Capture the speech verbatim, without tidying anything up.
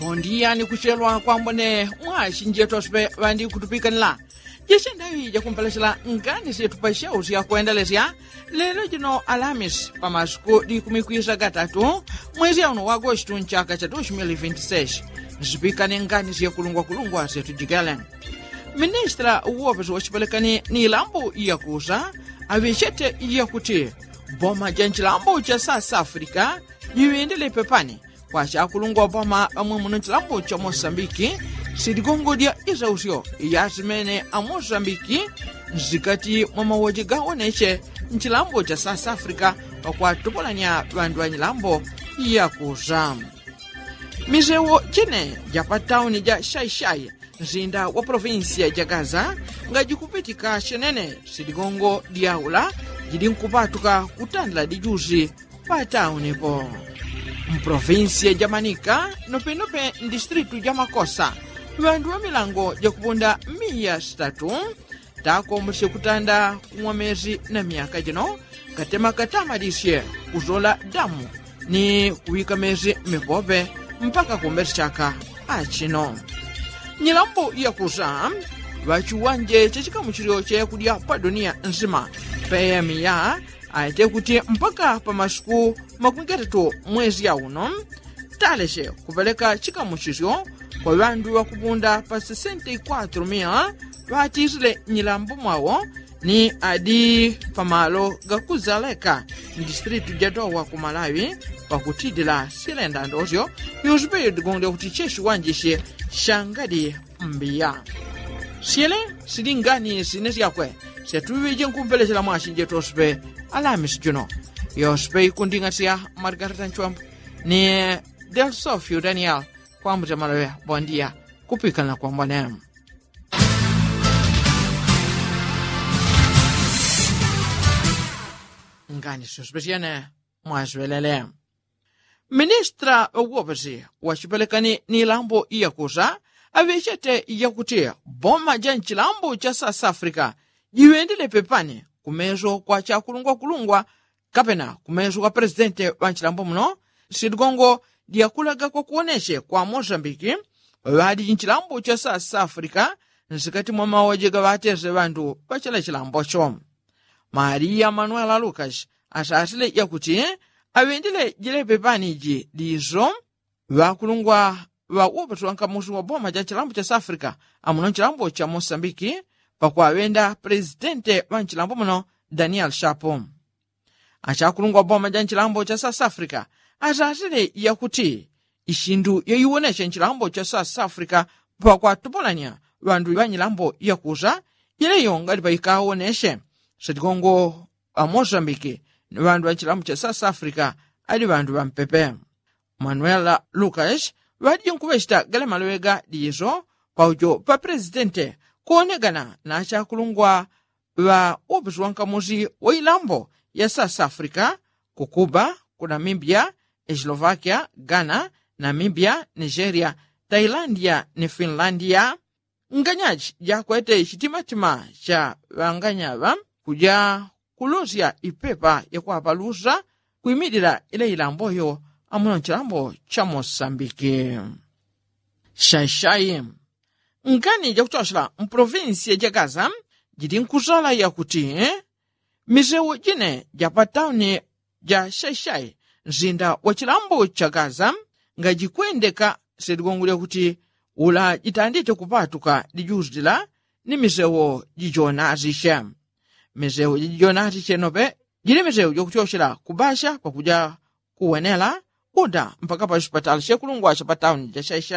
Bondiya ni kuchelwa kwambone mwashi njetwa supe ŵandi kutupikanila. Jechendaŵi jakumpelechela ngani syetupachewo sya kwendelesya lelo jino alamisi pa masuku likumi kwisa gatatu mwezi yauno wa agostu nchaka cha dos mil vinti seis. Nsipikane ngani syekulungwakulungwa syetujikele. Ministila uwopesi wachipelekani ni ilambo iyakusa aŵechete iyakuti boma ja nchilambo cha south africa jiŵendele pepani kwa chakulungwa boma amwe muno nchilambo cha mosambiki. Siligongo lya isausyo iyasimene amosambiki nsikati mwa mawoje gawoneche nchilambo cha south africa pakwatupulanya ŵandu ŵanyilambo iyakusa. Misewo jine ja pa tauni ja shaishai nsinda wa polovinsiya ja gaza ngajikupitika shenene siligongo dyaula jilinkupatuka kutandila dijusi. Pa tauni po mpolovinsiya ja manika nopenope ndistritu ja makosa ŵandu ŵa milango jakupunda miya sitatu takombosye kutanda kumwa mesi na myaka jino katema katamadisye kusola damu ni kuŵika mesi mmipope mpaka kumbesi chaka. Achino nyilambo yakusa ŵachiwanje cha chikamuchilyo cha yakudya pa duniya nsima peyamiya aite kuti mpaka pa masuku makumi gatatu mwezi yauno talesye kupeleka chikamuchisyo kwa ŵandu ŵakupunda pa sesenta i kwatru mia ŵatisile nyilambo mwawo ni adi pamalo gakuzaleka mdistritu ja dowa ku malawi. Pakutidila silenda ndosyo yosipe yodigongolya kuti chechiwanjisye shangadi mbiya. Syele sili ngani sine syakwe syatuŵije nkumpelechela mwashi njetosipe alamisi juno yosipe ikunding'asya margarita nchwambu ni delsofio daniel kwambuta maloŵe bondiya. Kupikanila kwambone ngani syosipe syene mwasiŵelele. Ministra ŵa uwopesi wachipelekani ni ilambo iyakusa aŵechete yakuti boma ja nchilambo cha south africa jiŵendele pepani kumeso kwa chakulungwakulungwa kapena kumeso kwa presidente ŵa nchilambo muno. Siligongo lyakulaga kwakuwoneche kwa mosambiki ŵaŵadi nchilambo cha south africa nsikati mwa mawoje gaŵatese ŵandu ŵachila chilambocho. Maria manuela lukas asasile yakuti aŵendele jilepe paniji diso ŵakulungwa ŵa uwopesi wa nkamusi wa boma ja chilambo cha south africa amuno nchilambo cha mosambiki pakwaŵenda presidente ŵa nchilambo muno daniel shapo. Achakulungwa boma ja nchilambo cha south africa asasile yakuti ishindu yaiwoneche nchilambo cha south africa pakwatupulanya ŵandu ŵa nyilambo yakusa jileyo ngali paikawoneche sitigongo ŵa mosambiki ni ŵandu ŵa nchilambo cha south africa ali ŵandu ŵampepe. Manuela lukas ŵadinkuŵechita gale maloŵe ga diso paujo pa presidente kuwonegana na achakulungwa ŵa uwopesi wa nkamusi wa ilambo ya south africa ku cuba ku namibia, eslovakia, ghana, namibia, nigeria, tailandia ni finlandia. Nganyachi jakwete chitimatima cha ŵanganyaŵa kuja kulosya ipepa yakwapalusa kwimilila ile ilamboyo amuno nchilambo cha mosambiki. Shashai ngani jakuchochela mpolovinsiya ja gaza jili nkusala yakuti misewo jine ja pa tauni ja shaishai nsinda wa chilambo cha gaza ngajikwendeka siligongo lyakuti ula jitandite kupatuka dijusila ni misewo jijonasishe. Misewo jijonasishe nope jili misewo jakuchochela kubasha pakuja kuwenela uda mpaka pa chipatala shekulungwa cha pa tauni ja shaishai.